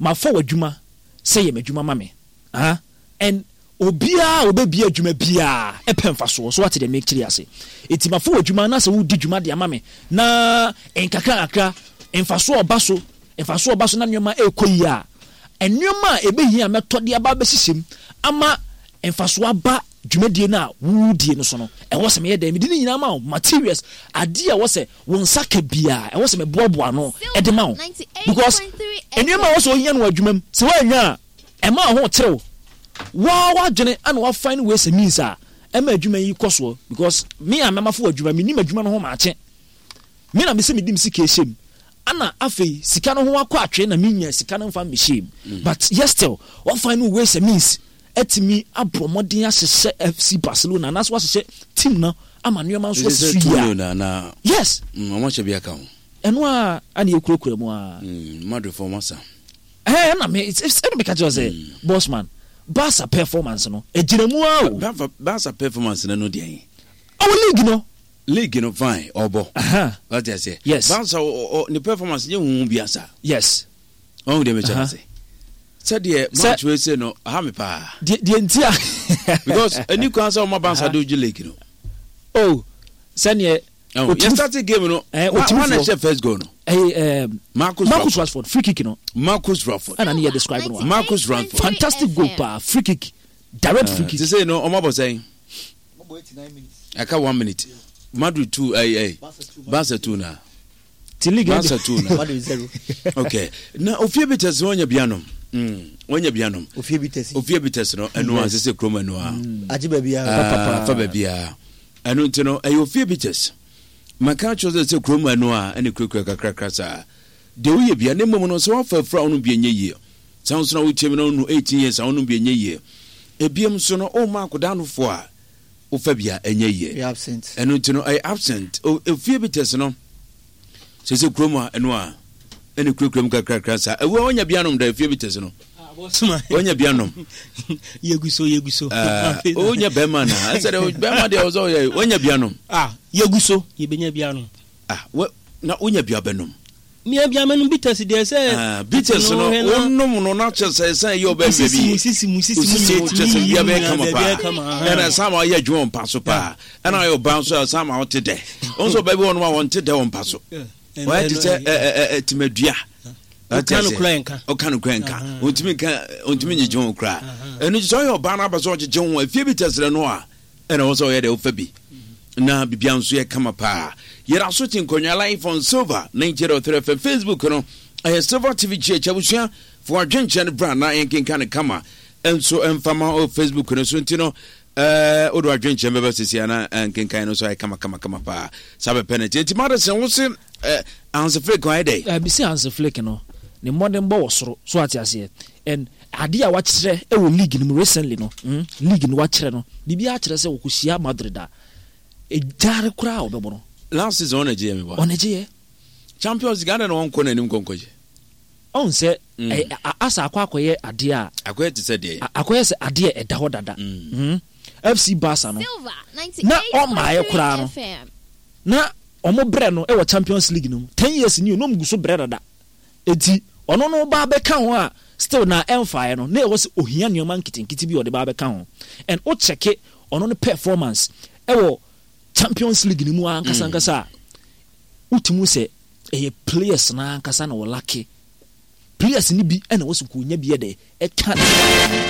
Mafa w'adwuma sɛ yɛ m'adwuma ma me. Ah, and obiara a ɔbɛbie adwuma biara pɛ mfasoɔ. So wate deɛ mekyerɛ yi ase? Enti mafa w'adwuma na sɛ wodi dwuma de ama me na nkakra nkakra mfasoɔ ɔba so, mfasoɔ ɔba so na nneɛma ɛrekɔ yie a, nneɛma a ɛbɛhia a mɛtɔ de aba abɛhyehyɛ mu ama mfasoɔ aba dwumadie no a woredie no so no, ɛwɔ sɛ meyɛ dɛn? Mede ne nyinaa ma wo, materials, adeɛ a ɛwɔ sɛ wo nsa ka biara, ɛwɔ sɛ meboaboa ano de ma wo. Because nneɛma a ɛwɔ sɛ wohia no wɔ adwuma mu, sɛ woannya a, ɛma wo ho kyere wo. Woa w'adwene ana wa find ways and means a ɛma adwuma yi kɔ soɔ because me a mɛmafo wɔ adwuma, menim adwuma no ho maakye. Me na mesɛ mede me sika ɛhyɛ mu. Ana afei sika no ho akɔ atwee na menya sika no mfa mmɛhyɛ mu. But yet still, wa find ways and means atumi abɔ mmɔden ahyehyɛ FC Barcelona anaasɛ wahyehyɛ team no ama nneɛma nso asi so yie a. Yes. Wɔn ahyɛ bi aka ho. Ɛno a ana yɛkurakura mu a. Madrid fo wɔn asa. Ɛɛ ɛna me ɛna meka kyerɛ sɛ mm. boss man Barca performance no ɛgyina mu a o. Barca performance no no deɛ. Ɔwɔ league no. League no fine ɔbɔ. Wate aseɛ. Yes. Barca ne performance nyɛ huhu bi asa. Yes. Ɔhu deɛ mekyɛ no ase. Sɛdeɛ match wei se no aha me paa. Deɛ nti a. Because ɛni kwan sɛ ɔma Barca de ogye league no. Oh sɛdeɛ. Oh, yɛ start game no. Eh, wɔn na ɛhyɛ first goal no. Ɛyɛ eh, Marcus Marcus Rashford free kick no. Marcus Rashford. Ɛna ne yɛ describe no. Marcus Rashford. Fantastic goal paa free kick direct free kick. Sise no ɔmo abɔ sɛn. Ɛka 1 minute. Madrid 2 ɛy ɛy Barca 2 na. Ti league Barca 2 na. Madrid 0. Okay. Na ofie bi tɛsi wɔn nya bi anom. Wɔn nya bi anom. Ofie bi tɛsi. Ofie bi tɛsi no ɛnu a sese kurom ɛnu a. Agye baabi a. Fa baabi a. Ɛno nti no ɛyɛ ofie bi tɛsi. Maka akyerɛ sɛ sɛ kurom ɛnu a ɛne kurakura kakrakra saa. Deɛ woyɛ bia ne mmom no sɛ wafa afura ɔno bi ɛnyɛ yie. Saa nso na wotie mi na ɔno 18 years a ɔno bi ɛnyɛ yie. Ebiem nso no ɔma akodaa no fo a wofa bi a ɛnyɛ yie. Ɛno nti no ɛyɛ absent. Ofie bi tɛsi no sɛ sɛ kurom a ɛno a ɛne kurakura mu kakrakra saa. Ɛwɔ ɔnya bi anom da efie bi tɛsi no. Ɔnya bi anom. Yegu so yegu so. Ɔnya bɛrima na ɛsɛ dɛ bɛrima deɛ ɔsɛ ɔyɛ ɔnya bi anom. Ah yegu so yɛbɛnya bi anom. Ah wɛ na wonya bi abɛnom. Mia bi amɛnum bitters deɛ sɛ. Ah bitters no wonom no na kyerɛ sɛ ɛsan yɛ ɔbɛn baabi. Osisi mu sisi mu sisi mu kyerɛ sɛ bia bɛyɛ kama paa. Ɛna ɛsan ma ɔyɛ adwuma wɔ mpa so paa. Ɛna ɔyɛ ɔbaa nso ɛsan ma ɔte dɛ. Wɔn nso ɔbaa bi wɔ nom a wɔnte dɛ wɔ mpa so. Wɔyɛ te sɛ ɛɛ ɛɛ tìmɛdua. Ɔka no kura nka. Ɔka no kura nka. Ɔntumi nka ɔntumi nyegye ho koraa. Ɛno nti sɛ ɔyɛ ɔbaa no aba sɛ ɔgyegye ho efie bi tɛsrɛ no a ɛna ɛwɔ sɛ ɔyɛ deɛ wofa bi na biribiara nso yɛ kama paa. Yɛda so te nkonnwa live on Silver 98.3 FM Facebook no ɛyɛ Silver TV GH abusua fo adwenkyerɛ no bra na yɛnkenka no kama nso mfa ma wɔ Facebook no so nti no ɛɛ wode adwenkyerɛ bɛba sisi ana nkenkan no nso ayɛ kama kama kama paa saa bɛpɛ no nti nti Madison wo se ɛɛ Hansi Flick ayɛ dɛ. Ɛɛ mesi Hansi Flick no ne mmɔdenbɔ wɔ soro so ate aseɛ and adeɛ a wakyerɛ wɔ league no mu recently no mm, league no wakyerɛ no biribiara kyerɛ sɛ wɔkɔhyia Madrid a ɛgyare koraa a wɔbɛbɔ no. Last season ɔna gyeɛ me ba. Ɔna gyeɛ. Champions League adɛn na wɔnkɔ n'anim kɔnkɔgye. Ɔn sɛ mm. asa akɔ akɔyɛ adeɛ a. Akɔyɛ te sɛ deɛ. Akɔyɛ sɛ adeɛ ɛda hɔ dada. Mm. Mm. FC Barca no na ɔmmaeɛ koraa no na ɔmo brɛ no wɔ Champions League no mu 10 years ni o na ɔmo gu so brɛ dada. Enti ɔno no ba abɛka ho a still na ɛmfaeɛ no na ɛwɔ sɛ ohia nneɛma nketenkete bi a ɔde ba abɛka ho and wo check ɔno no performance ɛwɔ Champions League no mu ankasa ankasa a wotumi hu sɛ ɛyɛ players no ankasa na wɔlake players no bi ɛna ɛwɔ sɛ nka onya bi ɛdɛ ɛka ne ho.